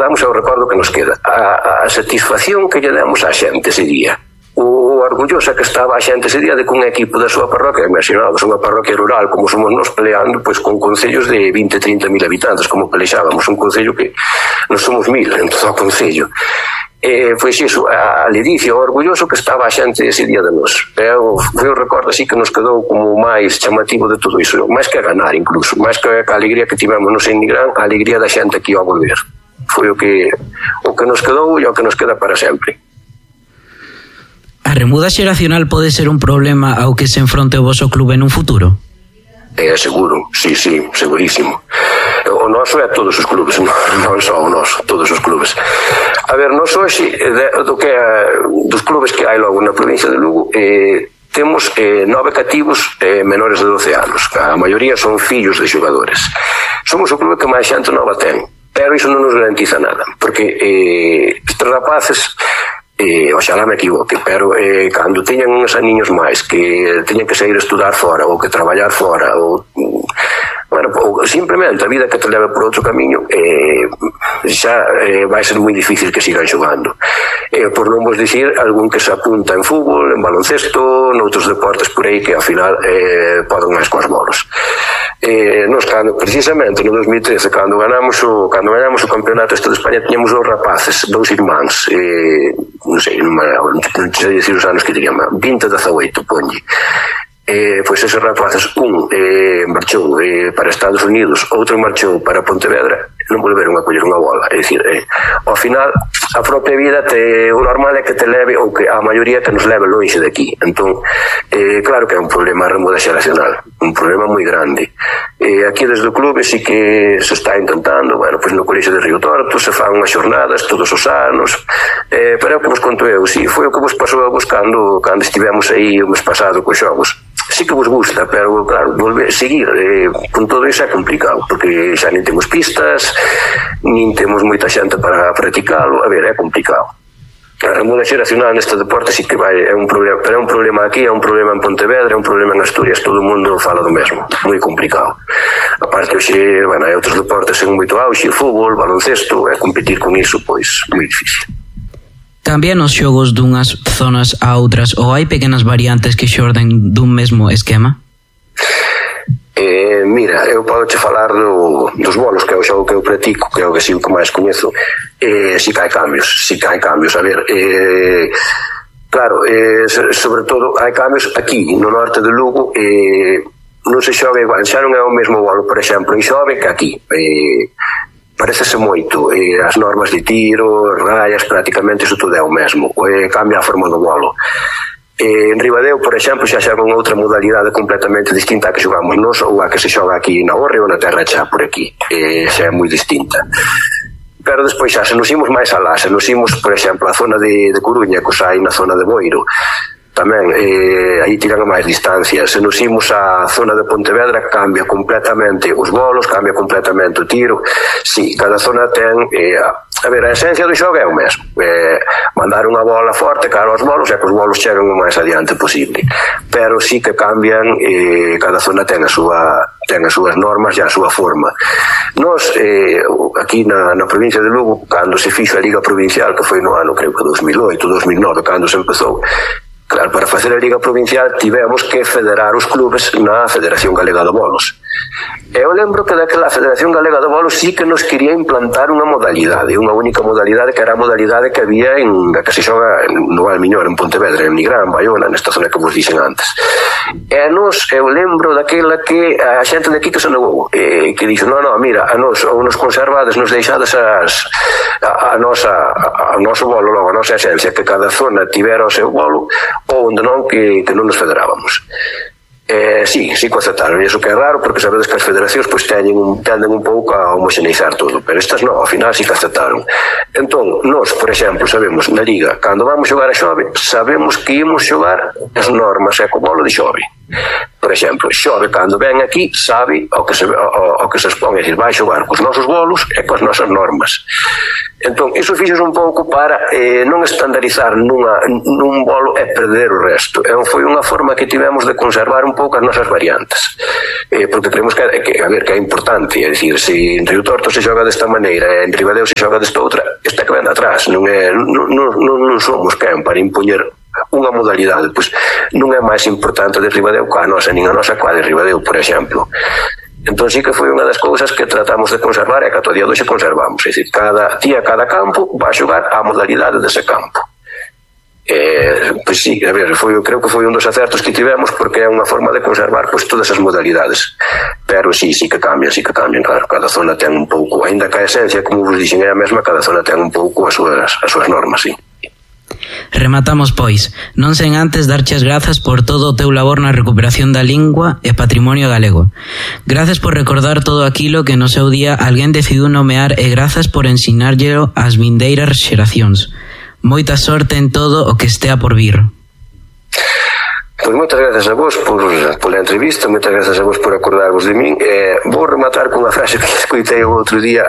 damos é o recordo que nos queda. A satisfacción que lle demos á xente ese día, o orgullosa que estaba a xente ese día de que un equipo da súa parroquia, imaginamos, unha parroquia rural como somos nos, peleando pois con concellos de 20-30 mil habitantes, como pelexábamos, un concello que non somos 1000 en todo o concello. Pois iso, a ledicia, o orgulloso que estaba a xente ese día de nos. Foi un recordo así que nos quedou como máis chamativo de todo iso, máis que a ganar incluso, máis que a alegría que tivemos no Sen Nigrán, a alegría da xente que ia a volver. Foi o que nos quedou e o que nos queda para sempre. A remuda xeracional pode ser un problema ao que se enfronte o voso clube nun futuro? Seguro, sí, segurísimo. O noso é todos os clubes, non só o noso, todos os clubes. A ver, nós hoxe, dos clubes que hai logo na provincia de Lugo, temos 9 cativos menores de 12 anos. A maioría son fillos de xogadores. Somos o clube que máis xente nova ten, pero iso non nos garantiza nada, porque estes rapaces, oxalá me equivoque, pero cando teñan uns aniños máis que teñan que sair a estudar fora ou que traballar fora ou simplemente a vida que te leve por outro camiño, xa vai ser moi difícil que sigan xogando, por non vos dicir algún que se apunta en fútbol, en baloncesto, noutros deportes por aí que ao final poden máis coas bolos. Nos, precisamente no 2013, cando ganamos o campeonato este de España, tiñamos 2 rapaces, 2 irmáns, non sei dicir os anos que tenían, 20-18, ponlle. Pois esos rapaces, un marchou para Estados Unidos, outro marchou para Pontevedra, non volveron a coller unha bola. É dicir, ao final a propia vida o normal é que te leve, ou que a maioría que nos leve lonxe de aquí. Entón, claro que é un problema a remuda xeracional, un problema moi grande. Aquí desde o clube sí que se está intentando, pois no colexio de Río Torto se fan unhas xornadas todos os anos, pero é o que vos conto eu, sí, foi o que vos pasou a vos cando estivemos aí o mes pasado cos xogos. Sí que vos gusta, pero claro, seguir con todo iso é complicado, porque xa nin temos pistas, nin temos moita xente para practicalo. A ver, é complicado. A remuda xeracional neste deporte sí que é un problema, pero é un problema aquí, é un problema en Pontevedra, é un problema en Asturias, todo o mundo fala do mesmo, moi complicado. A parte hoxe, hai outros deportes en moito auxe, fútbol, baloncesto, e competir con iso, pois, moi difícil. Cambian os xogos dunhas zonas a outras ou hai pequenas variantes que xorden dun mesmo esquema? Mira, eu podo che falar dos bolos, que é o xogo que eu practico, que é o que sí que máis coñezo. Si que hai cambios, a ver, claro, sobre todo hai cambios aquí no norte de Lugo, non se xoga igual, xa non é o mesmo bolo, por exemplo, en Xove que aquí. Parecese moito, as normas de tiro, rayas, prácticamente iso todo é o mesmo, cambia a forma do bolo. En Ribadeo, por exemplo, xa xogan outra modalidade completamente distinta a que xogamos nós ou a que se xoga aquí na Orre ou na Terra Chá por aquí, xa é moi distinta. Pero despois xa, se nos imos máis alá, se nos imos, por exemplo, a zona de Coruña, que os hai na zona de Boiro, tamén aí tiran a máis distancia. Se nos imos á zona de Pontevedra, cambia completamente os bolos, cambia completamente o tiro. Si, cada zona ten a ver, a esencia do xogo é o mesmo, mandar unha bola forte cara aos bolos e que os bolos cheguen o máis adiante posible, pero si que cambian, cada zona ten as súas normas e a súa forma. Nos, aquí na provincia de Lugo, cando se fixo a Liga Provincial, que foi no ano, creo que 2008, 2009, cando se empezou, claro, para facer a Liga Provincial tivemos que federar os clubes na Federación Galega de Bolos. Eu lembro que daquela Federación Galega de Bolos sí que nos quería implantar unha modalidade, unha única modalidade, que era a modalidade que había da que se xoga no Valmiñor, en Pontevedra, en Nigrán, en Baiona, nesta zona que vos dixen antes. E a nos, eu lembro daquela que a xente de aquí que se negou, que dixo, no, mira, a nos ou nos conservades, nos deixades a noso bolo, logo a nosa esencia, que cada zona tivera o seu bolo, ou onde non, que non nos federábamos. Sí que aceptaron, e iso que é raro, porque sabedes que as federacións tenden un pouco a homoxeneizar todo, pero estas non, ao final sí que aceptaron. Entón, nós, por exemplo, sabemos na Liga, cando vamos xogar a Xove, sabemos que imos xogar as normas e co bolo de Xove. Por exemplo, Xove, cando ven aquí, sabe o que se expón, é dicir, vai xogar cos nosos bolos e coas nosas normas. Entón, iso fixos un pouco para non estandarizar nun bolo e perder o resto. Foi unha forma que tivemos de conservar un pouco as nosas variantes. Porque creemos que é importante. É dicir, se en Río Torto se xoga desta maneira e en Ribadeo se xoga desta outra, esta que ven atrás. Non somos quen para impoñer unha modalidade. Pois non é máis importante de Ribadeo coa nosa, nin a nosa coa de Ribadeo, por exemplo. Entón sí que foi unha das cousas que tratamos de conservar e que ata o día de hoxe conservamos. É dicir, cada cada campo vai xogar a modalidade dese campo. Pois sí, a ver, creo que foi un dos acertos que tivemos, porque é unha forma de conservar pois todas as modalidades. Pero sí que cambian, claro, cada zona ten un pouco, aínda que a esencia, como vos dixen, é a mesma, cada zona ten un pouco as súas normas, sí. Rematamos, pois, non sen antes darche as grazas por todo o teu labor na recuperación da lingua e patrimonio galego. Grazas por recordar todo aquilo que no seu día alguén decidiu nomear e grazas por ensinárllelo ás vindeiras xeracións. Moita sorte en todo o que estea por vir. Pois moitas grazas a vos pola entrevista, moitas grazas a vos por acordarvos de min. Vou rematar con unha frase que escoitei o outro día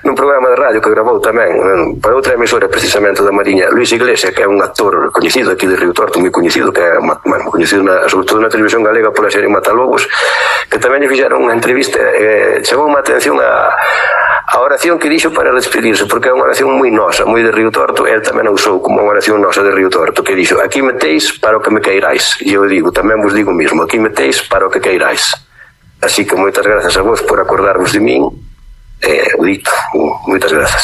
nun programa de radio que gravou tamén para outra emisora precisamente da Mariña, Luis Iglesias, que é un actor coñecido aquí de Río Torto, moi coñecido, que é coñecido sobre todo na televisión galega pola serie Matalobos, que tamén lle fixeron unha entrevista. Chamou unha atención a oración que dixo para despedirse, porque é unha oración moi nosa, moi de Río Torto. El tamén a usou como unha oración nosa de Río Torto, que dixo: aquí metéis para o que me queirais. E eu digo, tamén vos digo mismo, aquí metéis para o que queirais. Así que moitas grazas a vos por acordarvos de min. O dito, moitas grazas.